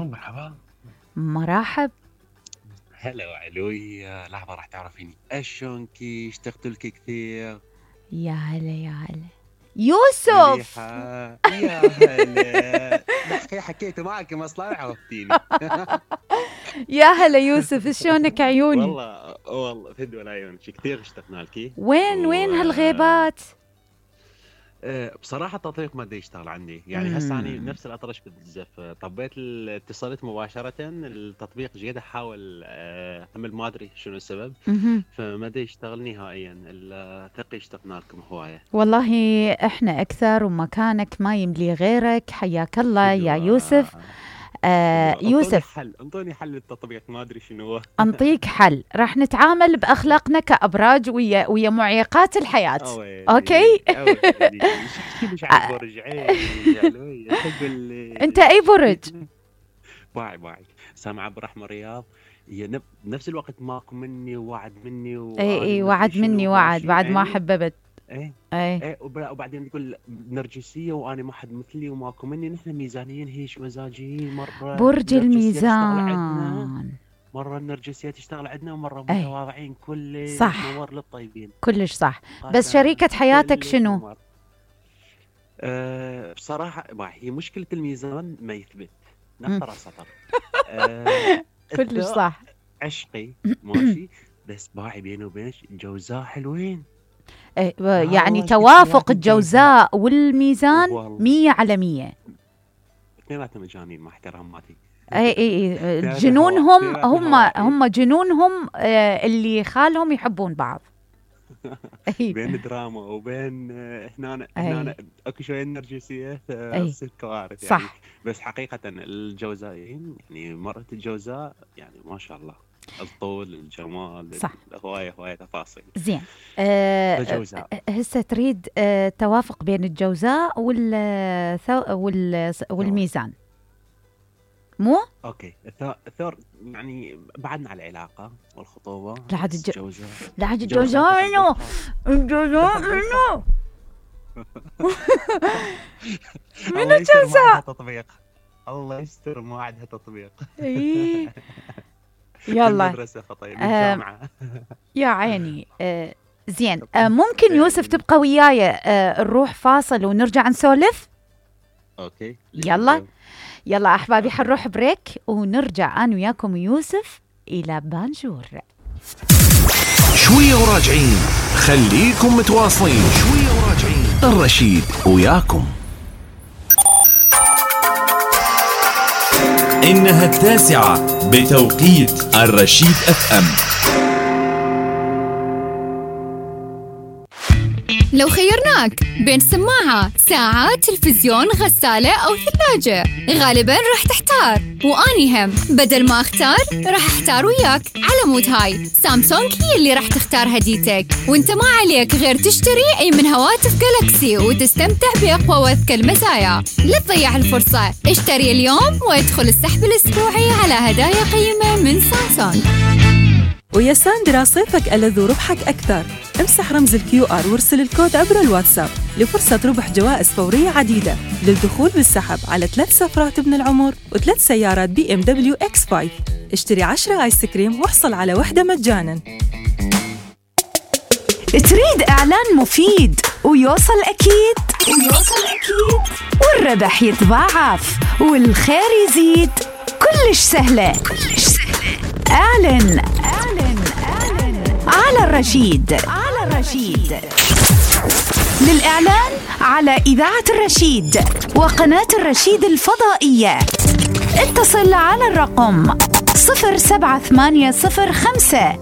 الو مرحبا. مرحب. هلا وعلوي، لحظة راح تعرفيني اشونكي، اشتقت لك كثير. يا هلا يا هلا يوسف. مليحة. يا هلا. دحين حكيت معك مصلحة عرفتيني. يا هلا يوسف، شلونك عيوني؟ والله فدوى العيون، كثير اشتقنا لك. وين هالغيبات؟ بصراحة التطبيق ما دا يشتغل عندي، يعني هسه أنا نفس الأطرش بالزف، طبيت اتصلت مباشرة، التطبيق جيد أحاول أعمل ما أدري شنو السبب، فما دا يشتغل نهائيا. الثقي اشتقنا لكم هواية والله، إحنا أكثر ومكانك ما يملي غيرك. حياك الله يا يوسف. يوسف، انطوني حل للتطبيق، ما ادري شنو هو. انطيك حل، راح نتعامل باخلاقنا كابراج ويا معيقات الحياه. اوكي. انت اي برج؟ باعي سامع برحمة رياض. هي بنفس الوقت ماكو مني ووعد مني اي وعد مني وعد بعد ما حببت. ايه وبعدين يقول نرجسيه وانا ما حد مثلي وماكو مني. نحن ميزانيين هيش مزاجيين، مره برج الميزان، مره النرجسيه تشتغل عندنا ومره متواضعين. كل صح، نور للطيبين، كلش صح. بس شريكة حياتك شنو؟ بصراحه هي مشكله الميزان ما يثبت، نقطه سطر. كلش صح. عشقي ماشي، بس باعي بيني وبينك الجوزاء حلوين. يعني توافق الجوزاء والميزان 100/100. اثنيناتهم مجانين مع احتراماتي. اي جنونهم، هم جنونهم اللي خالهم يحبون بعض. بين دراما وبين هنا اكو شويه نرجسيه تصير كوارث يعني. صح. بس حقيقه الجوزائيين يعني مرت الجوزاء يعني ما شاء الله، الطول، الجمال، صح. هواية تفاصيل. زين. هسه تريد توافق بين الجوزاء والميزان، مو؟ اوكي. الثور يعني بعدنا على العلاقة والخطوبة. لحد الجوزاء منو؟ الجوزاء منو؟ من الجوزاء؟ تطبيق الله يستر، ما عندها تطبيق. يلا المدرسة خطيب الجامعة. يا عيني. زين، ممكن يوسف تبقى وياي نروح فاصل ونرجع نسولف؟ اوكي يلا احبابي، حنروح بريك ونرجع انا وياكم يوسف الى بانجور. شوية وراجعين، خليكم متواصلين. شوية وراجعين، الرشيد وياكم. إنها 9 بتوقيت الرشيد FM. لو خيرناك بين سماعة، ساعة، تلفزيون، غسالة أو ثلاجة، غالباً راح تحتار. وأني هم بدل ما أختار راح أحتار وياك. على مود هاي سامسونج هي اللي راح تختار هديتك، وانت ما عليك غير تشتري أي من هواتف جالاكسي وتستمتع بأقوى وأذكى المزايا. لا تضيع الفرصة، اشتري اليوم وادخل السحب الأسبوعي على هدايا قيمة من سامسونج. ويا ساندرا صيفك ألذ وربحك أكثر. امسح رمز الQR وارسل الكود عبر الواتساب لفرصة ربح جوائز فورية عديدة للدخول بالسحب على 3 سفرات ابن العمر و3 سيارات BMW X5. اشتري 10 آيس كريم واحصل على 1 مجانا. تريد إعلان مفيد ويوصل أكيد والربح يتضاعف والخير يزيد؟ كلش سهلة. اعلن على الرشيد. للإعلان على إذاعة الرشيد وقناة الرشيد الفضائية اتصل على الرقم 07805